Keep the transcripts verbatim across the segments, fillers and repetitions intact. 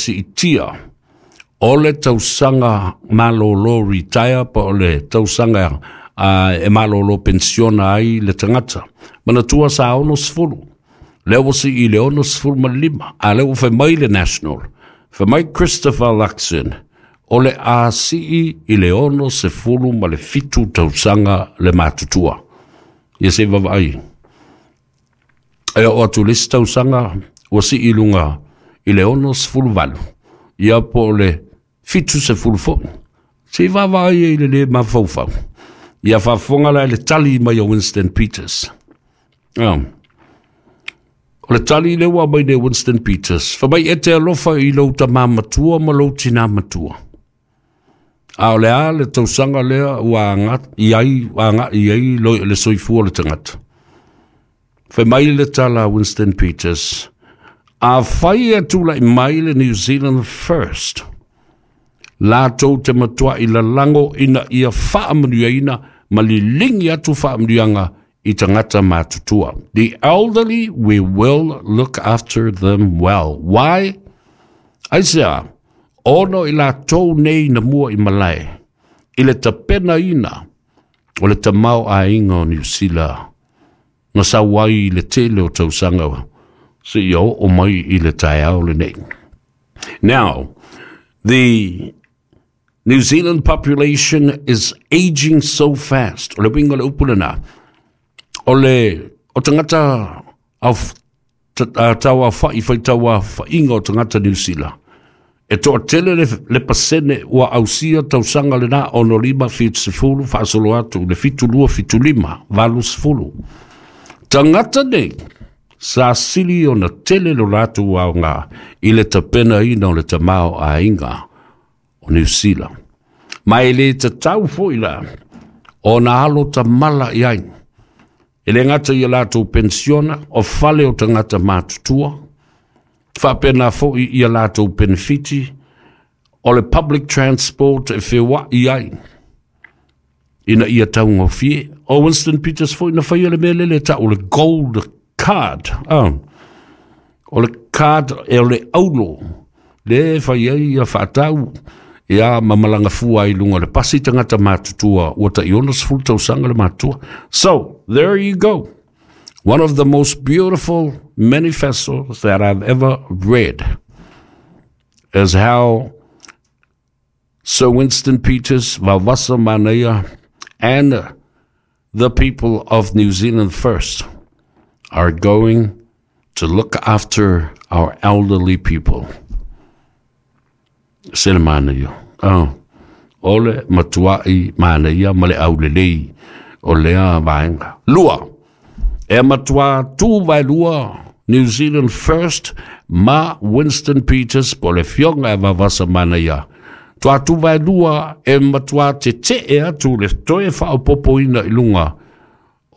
Siitia o le tausaga malolo retire po o le tausaga uh, e malolo pensiona ai le tagata. Manatua sa ono sefulu, lea ua sii i le ono sefulu ma le lima, a lea ua fai mai le National, fai mai Christopher Luxon, o le a sii i le ono sefulu ma le fitu tausaga le matutua. Ia se vaavaai. E oo atu le isi tausaga ua sii i luga i le ono sefulu valu, ia po o le fitu sefulu foi. Se i vaavaai ai i le lē mafaufau. Ia faafofoga la i le tali mai o Winston Peters. Oh. O le tali lea ua aumai nei Winston Peters, fai mai e te alofa i lou tamā matua ma lou tinā matua. A o le a le tausaga lea ua agai ai, agai ai le soifua o le tagata. Fai mai le tala a Winston Peters, afai e tulai mai le New Zealand First, latou te matuai lalago ina ia faamanuiaina ma liligi atu faamanuiaga i tagata matutua. The elderly, we will look after them well. Why? Aisea, ona i latou nei na mua i malae, i le tapenaina o le tamaoaiga o Niu Sila, na sau ai i le tele o tausaga seia oo mai i le taeao lenei. Now, the New Zealand population is aging so fast. O le uiga o le upu lena, o le o tagata au tauafa'i faitauafa'iga o tagata Niu Sila. E toatele le, le pasene ua ausia tausaga lena ono lima fitu sefulu faasolo atu le fitu lua fitu lima valu sefulu. Tagata nei sa sili ona tele lo latou aoga i le tapenaina o le tamaoaiga o Niu Sila. Ma e le tatau foi la ona alo tamala i ai. E le gata i a latou pensiona o fale o tagata matutua, faapena foi i a latou penefiti, o le public transport e feoa'i ai ina ia taugofie. O Winston Peters foi na faia le mea lele e ta'u o le gold card. Ah. O le card e o le aulo le fai ai ia faatau ia ma malaga fua ai i luga o le pasi tagata matutua ua tai ono sefulu tausaga le matutua. So, there you go. One of the most beautiful manifestos that I've ever read is how Sir Winston Peters, Vaovasa Manaia, and the people of New Zealand First are going to look after our elderly people. Se le manaia. Oh. O le matua'i manaia ma le aulelei o lea vaega. Lua, e matuā tu vaelua New Zealand First ma Winston Peters po o le afioga ia Vaovasa Manaia. Tuā tu vaelua e matuā tete'e atu le toe faaopoopoina i luga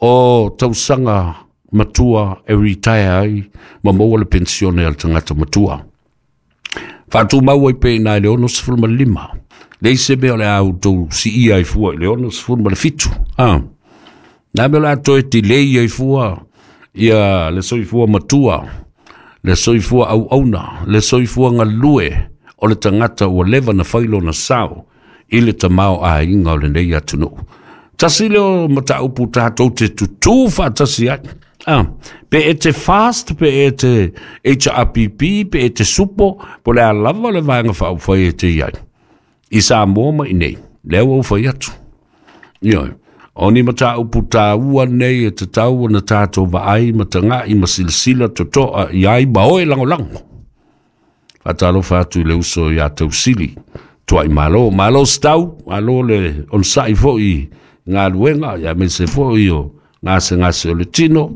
o tausaga matua e retire ai ma maua le pensione a le tagata matua. Faatumau ai pea i ina i le ono sefulu ma le lima. Leai se mea o le a outou siia ai fua i le ono sefulu ma le fitu. Ah. Na mea o le a toe tilei ai fua ia le soifua matua, le soifua auauna, le soifua galue o le tagata ua leva na fai lona sao i le tamaoaiga o lenei atunuu. Tasi lea o mataupu tatou te tutū faatasi ai. Ah, pe e te fast, pe e te H R P P, pe e te supo, po o le a lava le vaega faaupufai e te i ai. I Samoa ma i nei, lea ua ou fai atu. Ioe, o ni mataupu taua nei e tatau ona tatou vaai ma taga'i ma silasila toto'a i ai ma oe lagolago. Faatalofa atu i le uso iā Tausili, Tua'i Malo. Malo Stau, malo le onosa'i foi i galuega, aemaise foi o gasegase o le tino.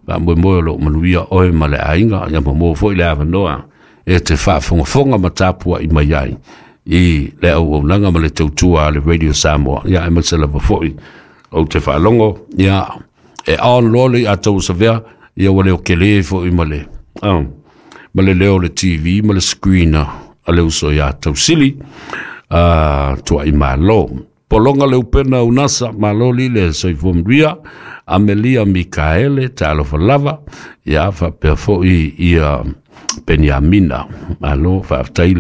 Faamoemoe o loo manuia oe ma le aiga, ia ma maua foi le avanoa e te faafogafoga ma tapua'i mai ai i le auaunaga ma le tautua a le Radio Samoa, ia aemaise lava foi ou te faalogo ia e on loa le iā tauasavea, ia ua leo kelē foi ma le oh, ma le leo o le T V ma le screen a le uso iā Tausili uh, Tua'i Malo. Pologa le upena unasa, malo lile soifua manuia, Amelia Mikaele, talofa lava, ia faapea foi ia Peniamina, malo faafetai.